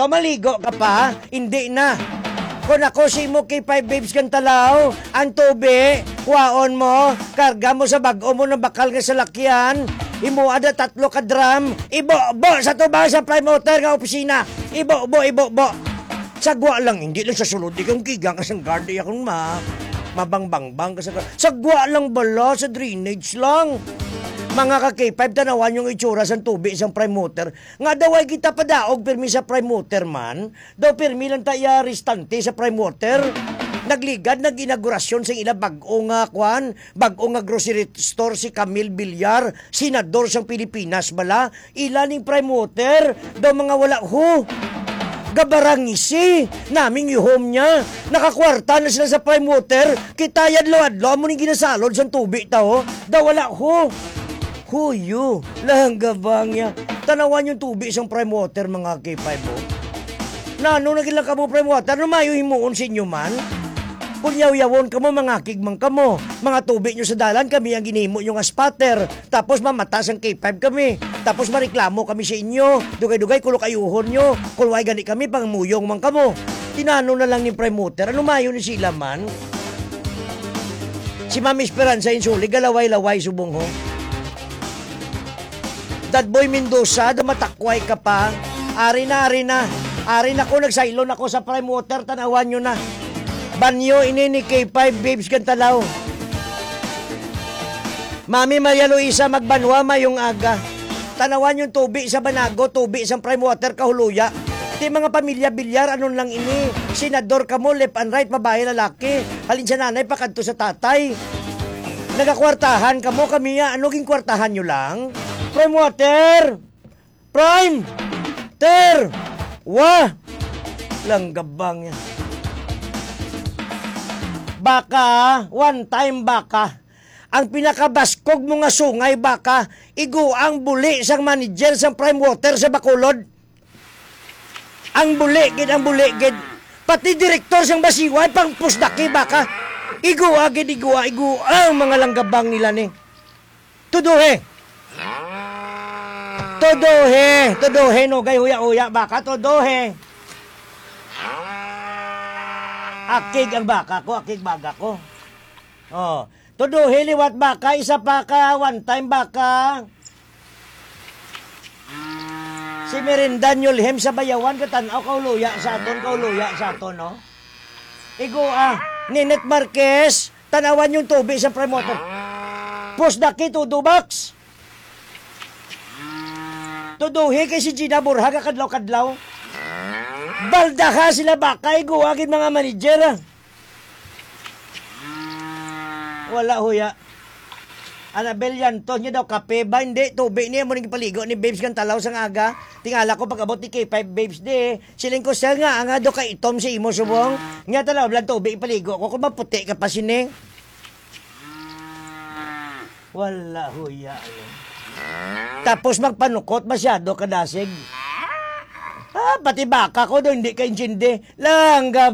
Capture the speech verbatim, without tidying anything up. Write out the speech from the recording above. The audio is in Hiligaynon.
Pamaligo ka pa? Hindi na. Kung ako si mo kay five babes kang talaw, ang tubi, kuhaon mo, karga mo sa bag-o mo ng bakal nga salakyan, imo ada tatlo ka drum, ibo-bo sa tubang sa Prime Water nga opisina. Ibo-bo, ibo-bo. Sagwa lang, hindi lang sa sulod, ikaw kigang ka sang guard, iya kung ma-, mabangbang-bang ka sa guard. Sagwa lang bala, sa drainage lang. Mga ka-K five, tanawan yung itsura sang tubi sang Prime Water. Nga daw ay kita padaog pirmi sa Prime Water man. Daw pirmi lang ta iya restante sa Prime Water. Nagligad, nag-inaugurasyon sa ila bag-o nga, kwan, bag-o nga grocery store si Camille Villar, senador sang Pilipinas bala. Ila ning Prime Water, daw mga wala ho. Gabarangisi, naming ihom niya. Nakakwarta na sila sa Prime Water. Kita yadlo-adlo, amo ning ginasalod sang tubi ta, ho. Daw wala ho. Huyo, langgabang niya. Tanawan yung tubi sang Prime Water, mga K five, oh. Nano na gila kamo, Prime Water? Ano mayo himuon sa inyo man? Kung yaw-yawon kamo, mangakig man kamo. Mga tubi nyo sa dalan, kami ang ginhimo nyo nga spatter. Tapos mamata sang K five kami. Tapos mareklamo kami sa inyo. Dugay-dugay, kulok ayuhon nyo. Kung way gani kami, pangmuyong man kamo. Tinano na lang ni Prime Water. Ano mayo ni sila man? Si Ma'am Esperanza Insuli, galaway-laway subong ho. Dadboy Mendoza, dumatakway ka pa. Ari na, ari na. Ari na ko, nagsaylon ako sa Prime Water, tanawan nyo na. Banyo ini ni K five Babes Gantalaw. Mami Maria Luisa Magbanwa, mayong aga. Tanawan yung tubi sa Banago, tubi sa Prime Water, kahuluya. Ti mga pamilya Bilyar, anon lang ini? Senador kamo, left and right, babae, lalaki. Halin sa nanay, pakadto sa tatay. Nagakwartahan kamo, kami ya, ano ging kwartahan nyo lang? Prime Water! Prime! Ter! Wa! Langgabang yan. Baka, one time baka. Ang pinakabaskog mo nga sungay baka, igo ang buli sang manager sang Prime Water sa Bacolod. Ang buli gid, ang buli gid. Pati direktor sang Basiway, pang pusdaki baka. Igua gid, igua, igua ang mga langgabang nila ni. Tuduhe. Tuduhe, tuduhe, nugay huya-huya baka, tuduhe. Akig ang baka ko, akig baga ko. Oh, tuduhe liwat baka, isa pa ka one time baka. Si Mirinda Nyulhem sa Bayawan, katan-aw, kauluya sa aton, kauluya sa aton, no? Igo, ah, Ninette Marquez, tanawan yung tubi sa Prime Water. Pusdaki, tudo box. Tuduhi kay si Gina Borja, kadlaw-kadlaw. Baldaha sila baka, igo, agin mga manager, ah. Wala, huya. Anabel Yantos niya daw kape ba? Hindi, tubi niya mo nang ipaligo ni Babes kang talaw sang aga. Tingala ko pag-abot ni K five Babes di. Siling ko, "Sir, nga, nga do ka itom sa imo subong. Nga talaw, blan tubi ipaligo ko kung maputi ka pa sini." Wala, huya, ano. Tapos magpanukot masyado kadasig. Ah, pati baka ko do, hindi ka intindi. Langga